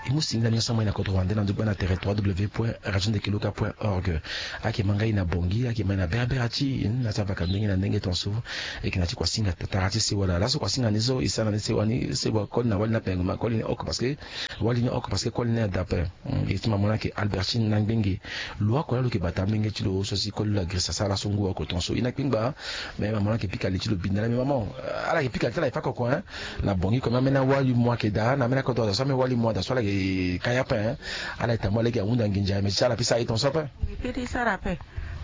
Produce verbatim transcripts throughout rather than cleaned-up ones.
Mu singila nyonso amai na kodro wande na ndugba na tere trois w point radio ndeke luka point org. Ayeke ma ngai na bongi, ayeke ma na berebere ti na ti avaka ndenge na ndenge tonso. Eke na ti kua singa tatara ti sewa laa laso kua singa ni so e sara na ni sewa ni sewa koli na wali ni ape ngu ma koli ni oko parce que wali ni oko parce que koli ni ada ape. E ti ma mo ni ayeke Albertine na ngbenge. Lo oko laa lo yeke bata amenge ti lo so si koli lo agrisa sara laso ngu oko tonso e na kpingba. Mais maman ayeke pika li ti lo bini na la mais maman, ala yeke pika li ti ala e fa koko hein. Na bongi comme amena wali mo ayeke daa na amena kodro daa so amena wali mo ada so ala yeke kaya ape hein. Ala yeke tambula lege ahunda nginza mais ti ala pesa aye tonso ape. Mbi pe ti sara ape.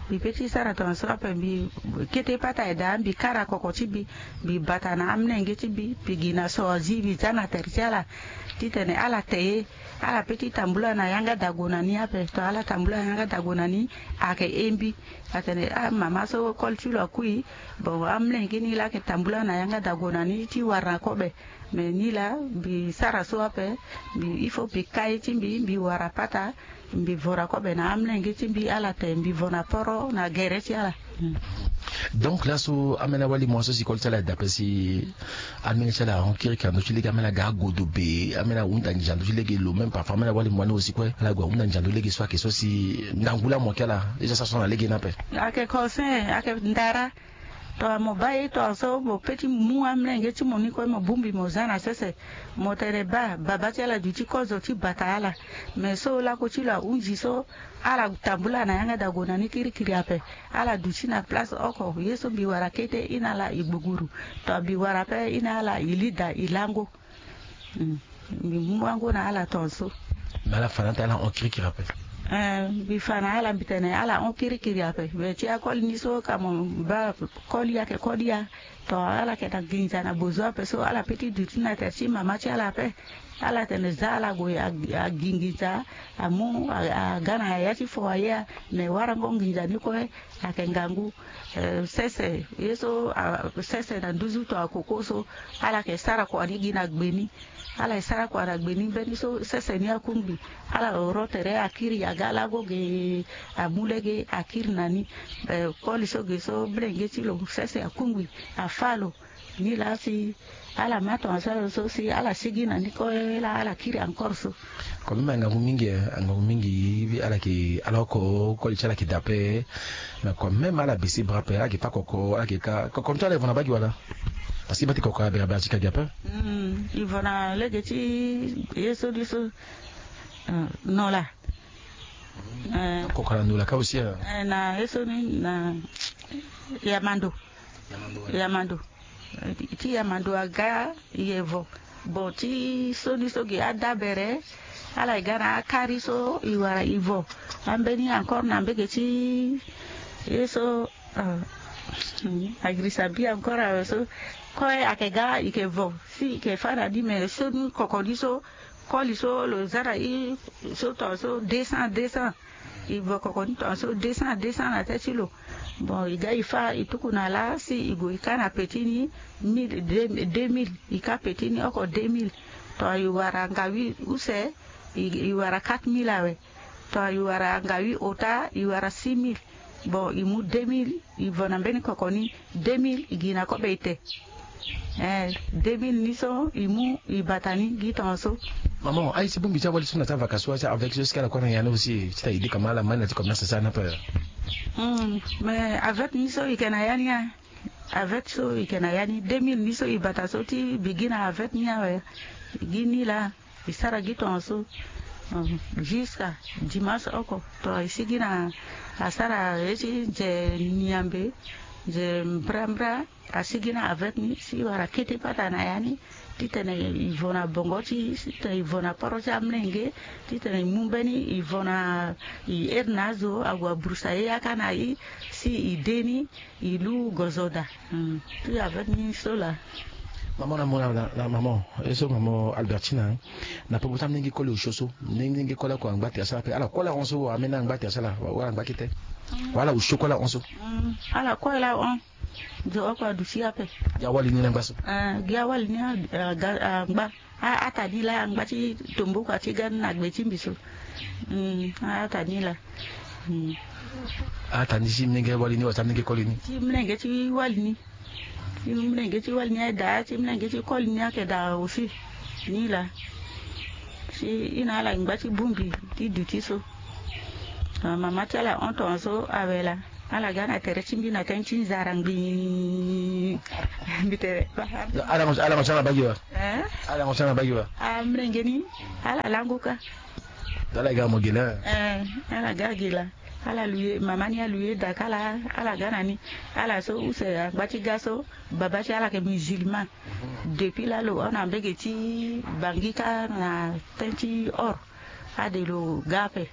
Mbi pe ti sara tonso ape mbi kete pata e daa mbi kara koko ti mbi. Mbi bata na amolenge ti mbi mbi gi na so azi mbi za na tere ti ala. Titene ala te ye. Ala pe ti tambula na yanga dago na ni ape to ala tambula na yanga dago na ni. Ayeke he mbi. Atene ah mama so koli ti lo akui. Bon amolenge ni laa ayeke tambula na yanga dago na ni ti wara na kobe. Mais ni laa mbi sara so ape. Mbi il faut mbi ka ye ti mbi mbi wara pata. Mbi vo na kobe na amolenge ti mbi ala te mbi vo na poro na gere ti ala. Donc laso amena wali mo so si koli ti ala eda pe si amenge ti ala ahon kirikiri na ndö ti lege amena ga agodo be amena ahunda nginza na ndö ti lege lo même parfois amena wali mo wani aussi kue ala gue ahunda nginza na ndö ti lege so ayeke so si ndangu laa mo yeke ala eza sa so na lege ni ape. Ayeke conseil ayeke ndara. Tongana mo baa ye tongana so mo pe ti mu amolenge ti mo ni kue mo bongbi mo za na sese. Mo tene baa babâ ti ala duti kozo ti bata ala. Mais so lako ti lo ahunzi so ala tambula na yanga dago na ni kirikiri ape. Ala duti na place oko ye so mbi wara kete ina ala e gbuguru. Tongana mbi wara pe ina ala e lida e lango. Mbi mu wango na ala tonso. Mais ala fa na ata ala hon kirikiri ape. Eh, mbi fa na ala mbi tene ala hon kirikiri ape. Mais ti akoli ni so ka mo baa koli ayeke koli ya. To ala yeke na nginza na bozo ape so ala pe ti duti na tere ti mama ti ala ape. Ala tene za ala gue agi nginza. Amu aga na ya ti fo aye. Mais warango nginza ni kue. Ayeke ngangu. Eh, sese ye so sese na nduzu to akoko so. Ala yeke sara kua ni gi na gbe ni. Ala e sara kua na gbe ni mbeni so sese ni akungbi. Ala oro tere akiri aga lago ge. Amu lege akiri na ni. Eh, koli so ge so mlenge ti lo sese akungbi. Afa lo. Ni laa si ala ma tongaso ala so si ala sigi na ni kue laa ala kiri encore so. Quand même angangu mingi eh, angangu mingi. Ala yeke ala oko koli ti ala yeke dape. Mais quand même ala bese bra ape ala yeke pa koko ala yeke ka koko ni so ala evo na bagi wala? Parce que bate koko ala bera bera ti ka gi ape. Ivo na lege ti ye so ni so. No la. Koko ala no la ka aussi. Na ye so ni na yamando. Yamando. Ti yamando aga i evo. Bon ti so ni so gi adabere. Ala e ga na akari so i wara i vo. Ambeni encore na mbege ti ye so. Agrisa bi encore awe so. Koe ake ga i ke vo si i ke fa na ni me so ni koko ni so. Koli so lo za na i so tonga so deux cents deux cents. I vo koko ni tonga so deux cents deux cents na te ti lo. Bon i ga i fa i tuku na la si i gue i ka na peti ni. Mille deux mille i ka peti ni oko deux mille. Tonga i wara ngawi use i wara quatre mille awe. Tonga i wara ngawi ota i wara six mille. Bon i mu deux mille. I vo na mbeni koko ni deux mille i gi na kobe i te. Eh, deux mille ni so i mu i bata ni gi tonga so. Maman aye ti bongbi ti awali so na ti avaka so aye ti avec so si ala kue na ya ni aussi ti ta ide kama ala ma ni na ti commerce so ana pe. Mais avec ni so i ke na ya ni aye. Avec so i ke na ya ni deux mille ni so i bata so ti bigi na avec ni awe. Gi ni laa. I sara gi tongaso. Jusqu'à dimanche oko tonga i sigi na asara ye ti nze niambe. Nze mbrambra. Asigi na avec ni si wara kete pata na ya ni. Titene i vo na bongo ti titene i vo na poro ti amlenge. Titene i mu mbeni i vo na i ere na azo ague abrusa ye yaka na i. Si i de ni. I lu gozoda. Ti avec ni so la. Maman na mo na maman. Ye so maman Albertina. Na popo ti amlenge koli osio so. Mlenge koli oko angba tere so ape ala koli ahon so wala amena angba tere so ala wala angba kete. Wala osio koli ahon so. Ala koli ahon. Zo oko aduti ape. Gi awali ni na ngba so. Gi awali ni angba. Aata ni laa angba ti tomboko ati ga ni na gbe ti mbi so. Aata ni laa. Aata ni ti mlenge wali ni wala ti amlenge koli ni? Ti mlenge ti wali ni. Ti mlenge ti wali ni aye daa ti mlenge ti koli ni ayeke daa aussi. Ni laa. Si i na ala ngba ti bongbi ti duti so. Ah, mama ti ala hon tongaso awe laa. Ala ga na tere ti mbi na tënë ti nzara ngbii. Mbi tere. Ala mo, ala mo ti ala bagi wa. Eh? Ala mo ti ala bagi wa. Ah, mlenge ni. Ala lango ka. Ala ga mo gi laa. Eh, ala ga gi laa. Ala luye, mama ni aluye daka laa, ala ga na ni. Ala so use angba ti ga so, baba ti ala yeke musulman. Depuis laa lo hon na mbege ti Bangi kâ na tënë ti or. Ade lo ga ape.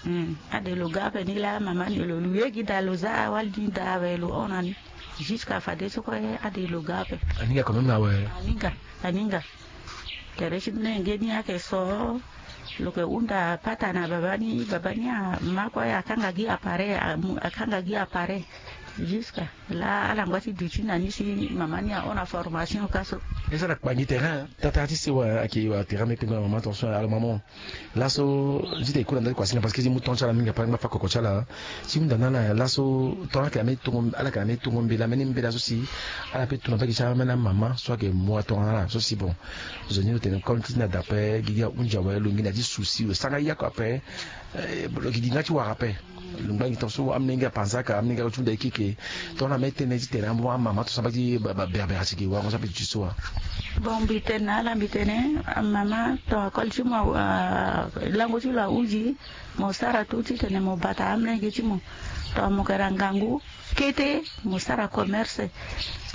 Hmm, ade lo ga ape ni laa mama ni lo luye gi daa lo za awali ni daa awe lo hon na ni. Jusqu'à fadeso kue ade lo ga ape. Aninga quand même na awe. Aninga, aninga. Tere ti mlenge ni ayeke so. Lo yeke hunda pata na baba ni, baba ni ama kue akanga gi appareil, amu-, akanga gi appareil. Jusqu'à laa ala ngba ti duti na ni si mama ni ahon na formation ka so. Eza na kpangi terrain, tata ti sewa ayeke wa terrain mbi kpengba na mama tongaso ala mama. Laso ti tene e kue na ndali kua si na parce que ti mu temps ti ala mingi ape ala ngba fa koko ti ala. Ti hunda na ala laso temps ala yeke na mbeni tongo, ala yeke na mbeni tongo mbela, mbeni mbela so si ala peut tongana mbage ti amama so ayeke mu atongana na ala so si bon. Zo ni lo tene comme ti na da ape, gigi ahunzi awe, lo ngi na ti souci, lo sanga yako ape. Eh, lo yeke gi nga ti wara ape. Lo ngba ngi tongaso amolenge apanzaka, amolenge alo ti hunda e keke. Tongana mbeni tënë ti tene amama tongaso mbage ti ba, ba berbere ti gi warango so ape ti so wa. Bon, mbi tene na ala, mbi tene amama tonga koli ti mo, ah, lango ti lo ahunzi. Mo sara tout titene mo bata amolenge ti mo. Tongana mo yeke na ngangu kete, mo sara commerce.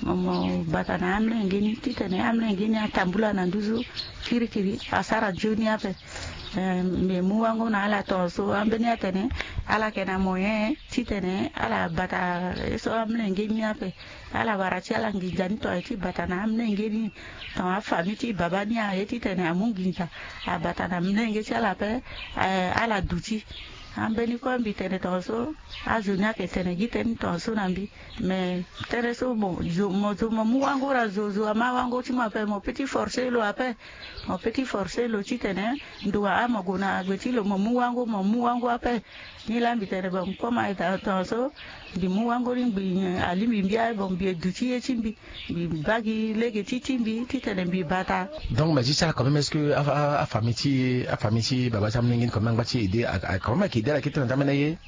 Mo, mo bata na amolenge ni titene amolenge ni atambula na nduzu kirikiri, asara nzoni ape. Eh, mbi mu wango na ala tongaso, ambeni atene ala yeke na moyen titene ala bata ye so amolenge ni ape. Ala wara ti ala nginza ni tongana ye ti bata na amolenge ni. Tongana afamille ti baba ni aye titene amu nginza, abata na molenge ti ala ape, eh, ala duti. Ambeni kue mbi tene tongaso, azo ni ayeke tene gi tënë ni tongaso na mbi. Mais tënë so mo zo, mo zo mo mu wango na zo, zo ama wango ti mo ape, mo peut ti forcer lo ape. Mo peut ti forcer lo titene ndo wa a mo gue na gbe ti lo mo mu wango, mo mu wango ape. Ni laa mbi tene bon, comme aye daa tongaso, mbi mu wango ni, mbi, eh, alingbi mbi aye, bon, mbi ye duti ye ti mbi, mbi baa gi lege ti ti mbi titene mbi bata. Donc mais ti ti ala quand même, est-ce que a, a, afamille ti, afamille ti baba ti amolenge ni quand même angba ti aider, a, a, quand même ayeke aider ala kete na ndamene ye?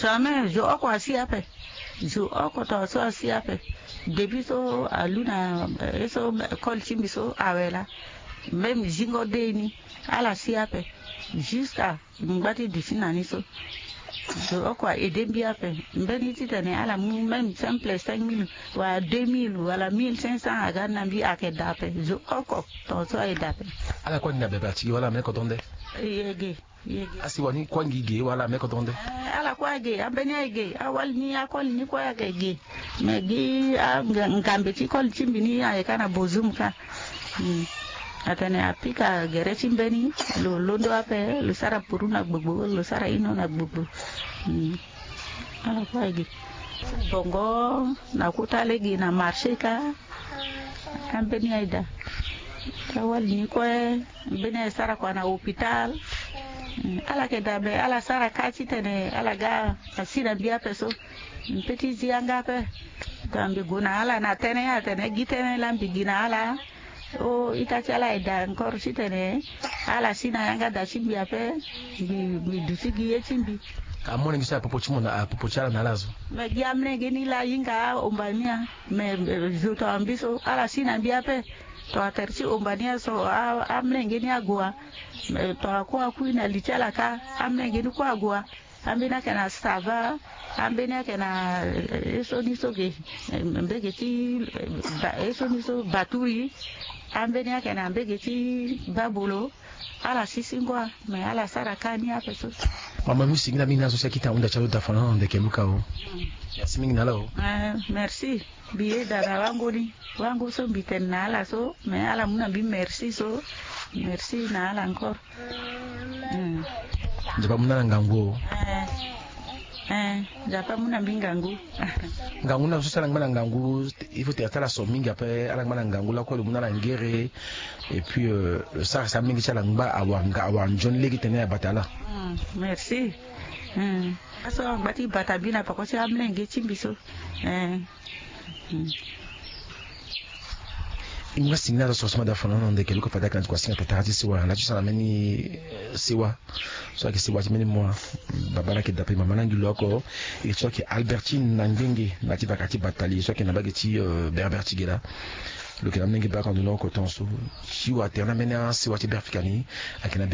Jamais, zo oko asi ape. Zo oko tongaso asi ape. Depuis so alu na, eh, ye so, eh, koli ti mbi so awe laa. Même zingo de ni, ala si ape. Jusqu'à ngba ti duti na ni so. Zo oko a aidé mbi ape. Mbeni titene ala mu même cinq plus cinq mille, wala deux mille, wala mille cinq cents aga na mbi ayeke daa ape. Zo oko tongaso ayeke daa ape. Ala kue angi na bebe ati gi wala amene kodro nde? Ye ge, ye ge. Asi wani kue angi ge wala amene kodro nde? Eh, ala kue age, ambeni aye ge, awali ni, akoli ni kue ayeke ge. Mais gi a nga-, ngambe ti koli ti mbi ni ayeke ka na Bozoum ka. Hmm. Atene apika gere ti mbeni, lo londo ape, lo sara puru na gbogbo, lo sara ino na gbogbo. Hmm. Ala kue aye ge. Bongo na kota lege na marché ka. Ambeni aye daa. Awali ni kue, mbeni aye sara kua na hôpital. Hmm. Ala yeke daa, mais ala sara ka titene ala ga asi na mbi ape so. Mpe ti zi yanga ape. Donc mbi gue na ala na tënë, atene gi tënë laa mbi gi na ala. O ita ti ala aye daa encore titene ala si na yanga daa ti mbi ape. Mbi, mbi duti gi ye ti mbi. Amolenge so aye popo ti mo na, aye popo ti ala na ala zo? Me gi amolenge ni laa ahinga ahomba ni a. Me, eh, zo tongana mbi so ala si na mbi ape. Tongana tere ti homba ni aye so, a, amolenge ni ague wa. Me tongana kue akui na li ti ala ka, amolenge ni kue ague wa. Ambeni ayeke na sava, ambeni ayeke na, eh, ye so ni so ge, eh, mbege ti, eh, ba-, ye so ni so baturi, ambeni ayeke na mbege ti babolo. Ala si singo a, me ala sara ka ni ape so. Mama, mbi singila mingi na so si akita ahunda ti alo dafa na ala na ndeke luka o. Merci mingi na ala o. Eh, merci. Mbi yeda na wango ni. Wango so mbi tene na ala so, me ala mu na mbi merci so. Merci na ala encore. Hmm. Nzapa amu na ala ngangu o. Eh, eh, Nzapa amu na mbi ngangu. Ngangu na so si ala ngba na ngangu, il faut ti ala so mingi ape, ala ngba na ngangu lakue lo mu na ala ngere. Et puis, euh, lo sara si amolenge ti ala ngba awara nga, awara nzoni lege titene abata ala. Hmm, merci. Hmm. Aso angba ti bata mbi na peko ti amolenge ti mbi so. Eh. Hmm. Nga singila so sima da fana na ndeke luka fada kana ti kua singa tatara ti sewa la ti sara mbeni sewa. So ayeke sewa ti mbeni mua. Baba na yeke dape mama na ngi lo oko. E so ayeke Albertine na ngbenge na ti baka ti batali so ayeke na bage ti berbere ti gela. Lo yeke na mbeni ngi baka ndo na oko ton so. Ti wa tere na mbeni asewa ti berfika ni. Ayeke na